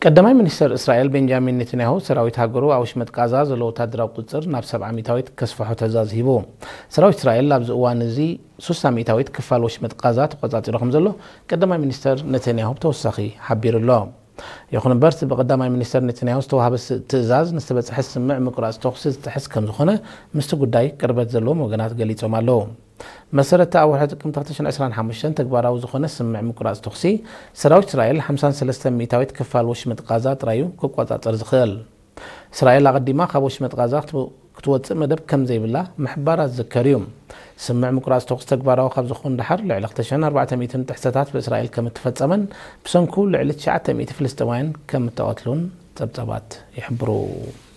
ቀዳማይ ሚኒስተር እስራኤል ቤንጃሚን ኔታንያሁ ሰራዊት ሃገሩ ኣብ ወሽመጥ ቃዛ ዘሎ ወታደራዊ ቁጽር ናብ ሰብዓ ሚእታዊት ከስፍሖ ትእዛዝ ሂቡ። ሰራዊት እስራኤል ኣብዚ እዋን እዚ ሱሳ ሚእታዊት ክፋል ወሽመጥ ቃዛ ተቆጻጺሩ ከም ዘሎ ቀዳማይ ሚኒስተር ኔታንያሁ ብተወሳኺ ሓቢሩ ኣሎ። ይኹን እምበር እቲ ብቀዳማይ ሚኒስተር ኔታንያሁ ዝተዋህበ ስ- ትእዛዝ ንዝተበጽሐ ስምምዕ ምቁራጽ ተኹሲ ዝጥሕስ ከም ዝኾነ ምስቲ ጉዳይ ቅርበት ዘለዎም ወገናት ገሊጾም ኣለዉ። መሰረት ኣብ ወርሒ ጥቅምቲ ክልተ ሽሕን ዕስራን ሓሙሽተን ተግባራዊ ዝኾነ ስምምዕ ምቁራጽ ተኹሲ ሰራዊት እስራኤል ሓምሳን ሰለስተን ሚእታዊት ክፋል ወሽመጥ ቃዛ ጥራዩ ክቆጻጸር ዝኽእል። እስራኤል ኣቐዲማ ካብ ወሽመጥ ቃዛ ክትወ- ክትወጽእ መደብ ከም ዘይብላ ምሕባራ ዝዝከር እዩ። ስምምዕ ምቁራጽ ተኹሲ ተግባራዊ ካብ ዝኾን ደሓር ልዕሊ ክልተ ሽሕን ኣርባዕተ ሚእትን ጥሕሰታት ብእስራኤል ከም እተፈጸመን ብሰንኩ ልዕሊ ትሽዓተ ሚእቲ ፍልስጤማውያን ከም እተቐትሉን ጸብጻባት ይሕብሩ።